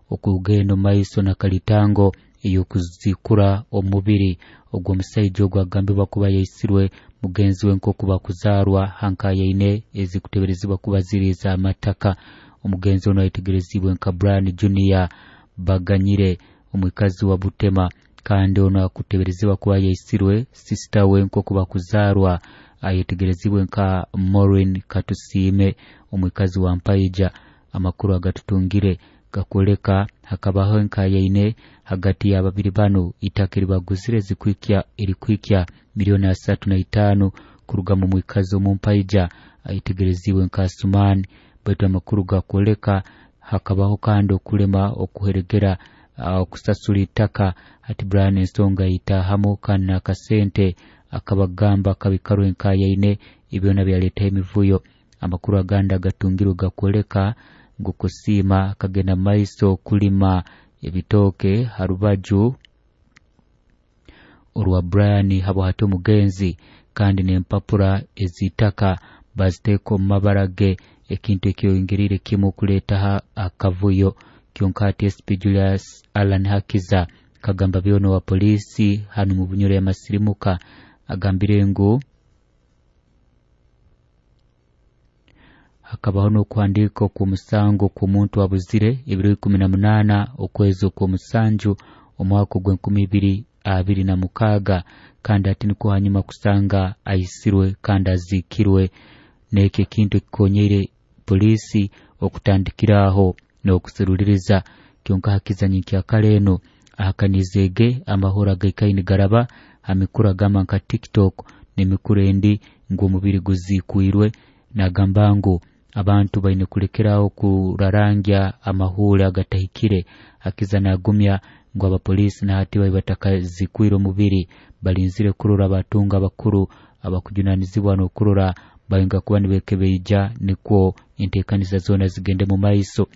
okugenda omu maiso na kalitango ey'okuzikura omubiri ogw'omusaija ogu agambibwa kuba yaisirwe mugenzi we nk'oku bakuzaarwa hankayaine ezikuteberezibwa kuba ziri ez'amataka. Omugenzi ono ayetegerezibwe nka Brian Junior Baganyire, omwikazi wa Butema, kandi ono akuteberezibwa kuba yaisirwe sisita we nk'oku bakuzaarwa ayetegerezibwe nka Maureen Katusiime, omwikazi wa Mpaija. Amakuru agatutungire gakwoleka hakabaho enkayaine hagati y'ababiri banu itaka eribaguzire erikuhikya 35,000,000 kuruga mu mwikazi omumpaija ayetegerezibwe nka Sumani. Baitu amakuru gakwoleka hakabaho kandi okulema okuheregera okusasura itaka. Hati Brian ensonga yitahamu kandi n'akasente akabagamba kabikarwa enkayaine ebyona byaleetaho emivuyo. Amakuru agandi agatungirwe gakwoleka ngu Kusiima akagenda maiso kulima ebitooke ha rubaju orwa Brian habwa hati omugenzi, kandi n'empapura ez'itaka baziteeka omu mabara ge, ekintu ekyongeriire kimu kuleetaho akavuyo. Kyonka hati SP Julius Allan Hakiza kagamba byona owa poliisi hanu mu Bunyoro y'amasirimuka agambire ngu hakabaho n'okuhandiika okw'omusango kw'omuntu abuzire ebiro 18 okwezi okw'omusanju omwaka ogw'enkumi ibiri abiri na mukaaga, kandi hati nikwo hanyuma kusanga aisirwe kandi aziikirwe. N'ekyo ekintu ekikonyeire poliisi okutandikiraho n'okuseruliriza. Kyonka Hakiza nyenkyakara eno ahakanizeege amahoro agaikaire nigaraba ha mikuru agamba nka TikTok n'emikuru endi ngu omubiri guziikwirwe. Nagamba ngu abantu baine kulekeraho kurarangya amahuure agatahikire. Hakiza nagumya ngu abapoliisi na hati bali batakazikwire omubiri, balinzire kurora abatunga abakuru abakujunanizibwa n'okurora bainga kuba nibekebeija nikwo enteekaniza zoona zigende mu maiso.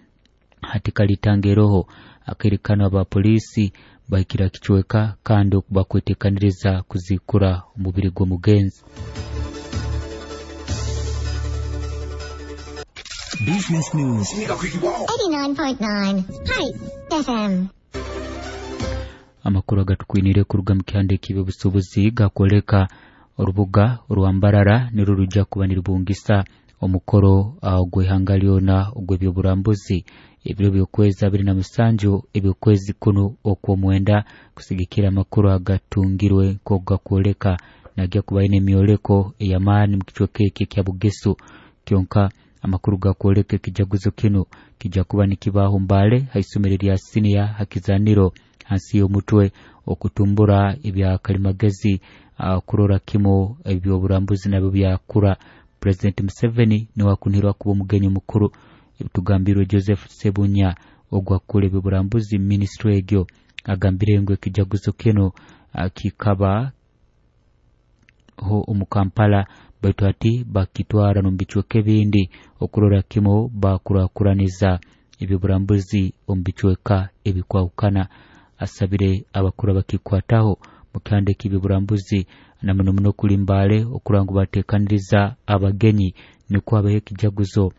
Hati kalitanga eroho akaire kanu abapoliisi bahikire kicweka kandi bakwetekaniriza kuzikura omubiri gw'omugenzi. Business News 89.9 Spice FM. Amakuru agatukwinire kuruga mu kihanda eky'ebyobusuubuzi gakwoleka orubuga orwa Mbarara nirwo rujja kuba nirubungisa omukoro ogw'ihanga lyona ogw'ebyoburambuzi ebiro by'okwezi 27 eby'okwezi kuno okw'omwenda, kusigikira amakuru agatungirwe nk'oku gakwoleka nagya kuba aine emyoleko ey'amaani mu kicweka eki ekya Bugisu. Kyonka amakuru gakwoleka ekijaguzo kinu kijja kuba nikibaho Mbale ha isomero lya siniya Hakizaniro hansi y'omutwe okutumbura ebya kalimagezi, kurora kimu ebyoburambuzi nabyo byakura. President Museveni niwe akunihirwa kuba omugenyi mukuru. Ebitugambirwe Joseph Sebunya ogwakukura ebyoburambuzi minisitule egyo agambire ngu ekijaguzo kinu kikaba ho omu Kampala, baitu hati bakitwara n'omu bicweka ebindi okurora kimu bakurakuraniza ebyoburambuzi omu bicweka ebikwahukana. Asabire abakuru abakikwataho mu kihanda eky'ebyoburambuzi na muno muno kuli Mbale okurora ngu bateekaniriza abagenyi nikwo habeho ekijaguzo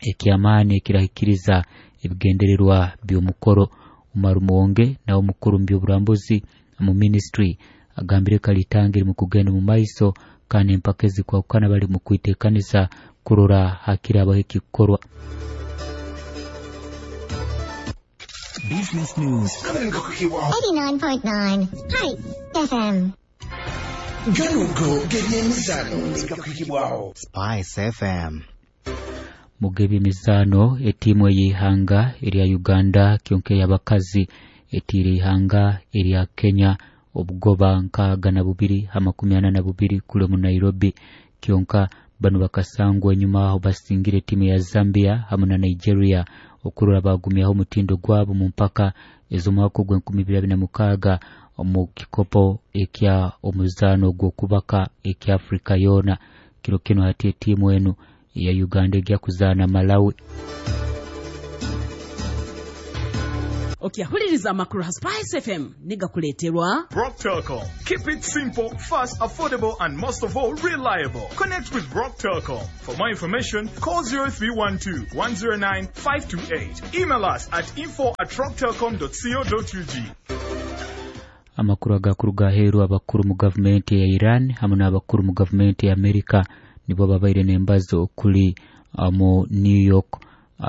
eky'amaani ekirahikiriza ebigendererwa by'omukoro. Umaru Muwonge nawe omukuru mu by'oburambuzi mu minisitule agambire kalitanga eri mu kugenda mu maiso kandi empaka ezikwahukana bali mu kwiteekaniza kurora hakirabaho ekikorwa. Business News 89.9 Spice FM. Ganugo g'ebyemizaano gakuhikibwaho Spice FM. Mu g'ebyemizaano, etiimu ey'ihanga erya Uganda kyonka ey'abakazi etiire ihanga erya Kenya obugoba 62 ha 42 kule mu Nairobi. Kyonka banu bakasangwa enyuma aho basingire etiimu ya Zambia hamu na Nigeria okurora bagumyaho omutindo gwabo mu mpaka ez'omwaka ogw'enkumi ibiri abiri na mukaaga omu kikopo ekya omuzaano ogw'okubaka ekya Afrika yoona. Kiro kinu hati etiimu enu eya Uganda ejja kuzaana Malawi. Okyahuliriza amakuru ha Spice FM nigakuleeterwa Rock Telcom. Keep it simple, fast, affordable, and most of all, reliable. Connect with Rock Telcom. For more information, call 0312 109 528. Email us at info@rocktelcom.co.ug. Amakuru agakuruga aheeru, abakuru mu gavumenti ya Iran hamwe n'abakuru mu gavumenti ya Amerika nibo babaire n'embazo okuli mu New York.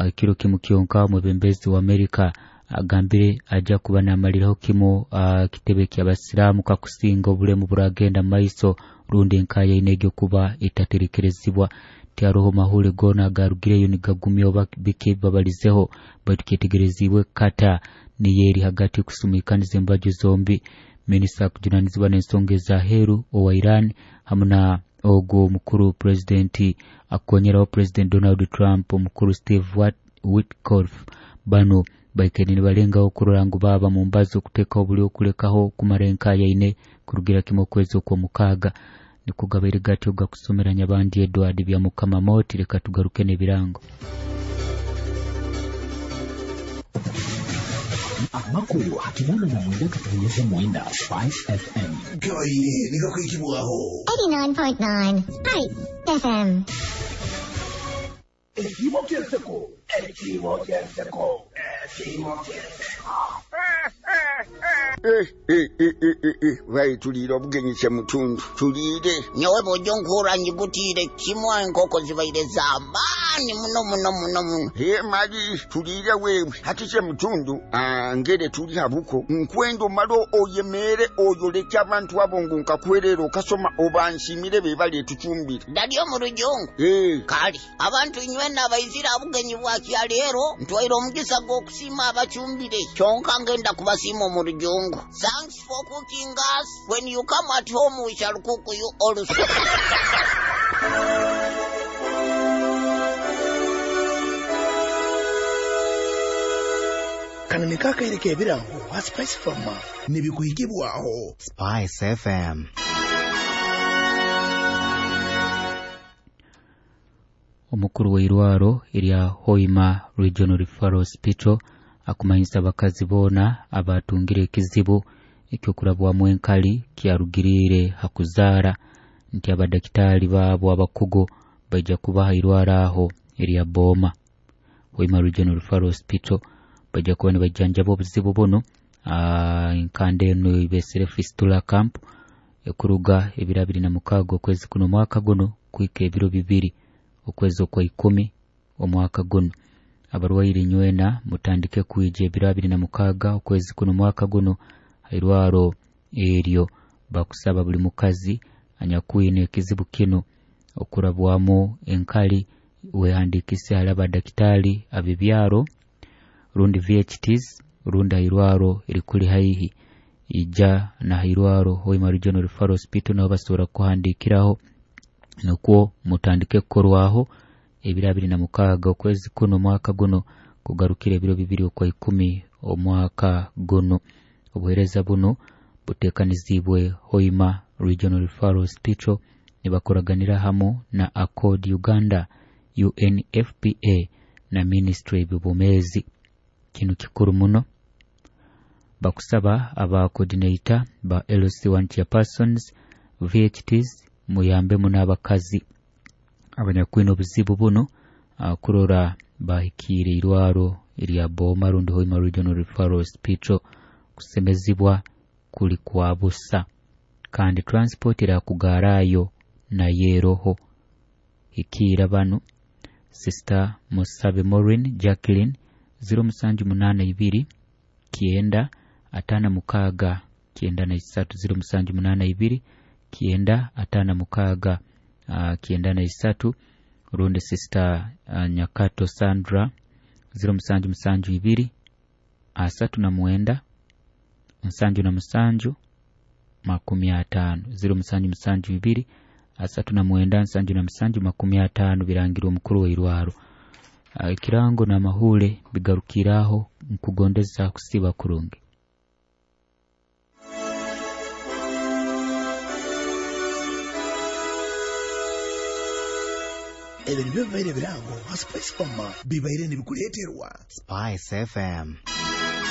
Ekiro kimu kyonka omwebembezi wa Amerika agambire ajja kuba namaliraho kimu kitebe ky'abasiraamu kakusinga obulemu buragenda mu maiso rundi enkayaine egyo kuba etaterekerezibwa. Tiharoho mahule goona agarugireyo nigagumya oba biki babalizeho, baitu kyetegerezibwe kata niyo eri hagati kusumikaniza embaju zombi. Minisita akujunanizibwa n'ensonga ez'aheeru owa Iran hamwe na ogwo omukuru pulezidenti akukonyeraho President Donald Trump omukuru Steve Witkoff, bano baikaire nibalengaho kurora ngu baaba mu mbazo okuteekaho buli okulekaho kumara enkayaine kurugira kimu okwezi okw'omukaaga. Nikugabaire gatyo gakusomera Nyabandi Edward bya Mukama Moti. Leka tugaruke n'ebirango. Amakuru hakinana na mwenda katonyeza mwenda Spice FM. Gabaire nigakwikibwaho 89.9 Spice FM. Ekibo ky'enseko, ekibo ky'enseko, ekibo ky'enseko. Vai tuliire obugenyi kyemutundu tuliire. Nyowe bw'ojja onkuura njigutiire kimu, enkoko zibaire z'amaani muno muno muno muno. He mali tuliire wewe hati kyemutundu, ngere tuli habuko nkwenda omale oyemeere oyoleke abantu abo ngu nkakwerera okasoma obansiimire be bali etucumbire. Ddali omu rujungu. Kale abantu nywena abaizire abugenyi bwa kyaleero, ntwaire omugisa gw'okusiima abacumbire, kyonka ngenda kubasiima omu rujungu. Thanks for cooking us. When you come at home, we shall cook you also. Kano niko akaire k'ebirango ha Spice Farmer nibikuhikibwaho Spice FM. Omukuru w'eirwaro erya Hoima Regional Referral Hospital akumanyisa abakazi boona abatungire ekizibu ekyokurabwamu enkali kyarugiriire ha kuzaara nti abadakitaali baabo abakugu baija kubaha irwaro aho erya Booma. Hoima Regional Referral Hospital baija kuba nibajjanjaba obuzibu buno. Enkanda eno ibesere Fistula Camp ekuruga ebiro 26 okwezi kuno omwaka guno kuhika ebiro 2 okwezi okwa 10 omwaka guno. Abarwaire nywena mutandike kwija ebiro 26 okwezi kuno omwaka guno irwaro eryo. Bakusaba buli mukazi anyakwine ekizibu kino okurabwamu enkali wehandikise hali abadakitaali abebyaro rundi VHTs rundi hairwaro erikuli haihi. Ija na hairwaro Hoima Regional Referral Hospital naho basobora kuhandikiraho nukwo mutandike kukorwaho ebiro 26 okwezi kuno omwaka guno kugarukira ebiro 2 okwa 10 omwaka guno. Obuheereza buno buteekanizibwe Hoima Regional Referral Hospital nibakoraganira hamu na Accord Uganda, UNFPA na Ministry y'Ebyobwomeezi. Kinu kikuru muno. Bakusaba aba coordinator ba LC1 chairpersons, VHTs muyambe muno abakazi abanyakwine obuzibu buno kurora bahikiire irwaro erya Booma rundi Hoima Regional Referral Hospital. Kusemezibwa kuli kwa busa kandi transport erakugaarayo nayo eroho. Hikiira bano Sister Musabe Maureen Jacqueline 0782 9 56 93 0782 9 56 93 rundi Sister Nyakato Sandra 0772 39 77 50 0772 39 77 50 birangirwa omukuru w'eirwaro. Ekirango n'amahule bigarukiraho nkugondeza kusiba kurungi. Ebyo nibyo bibaire ebirango ha Spice Farmer bibaire nibikuleeterwa Spice FM.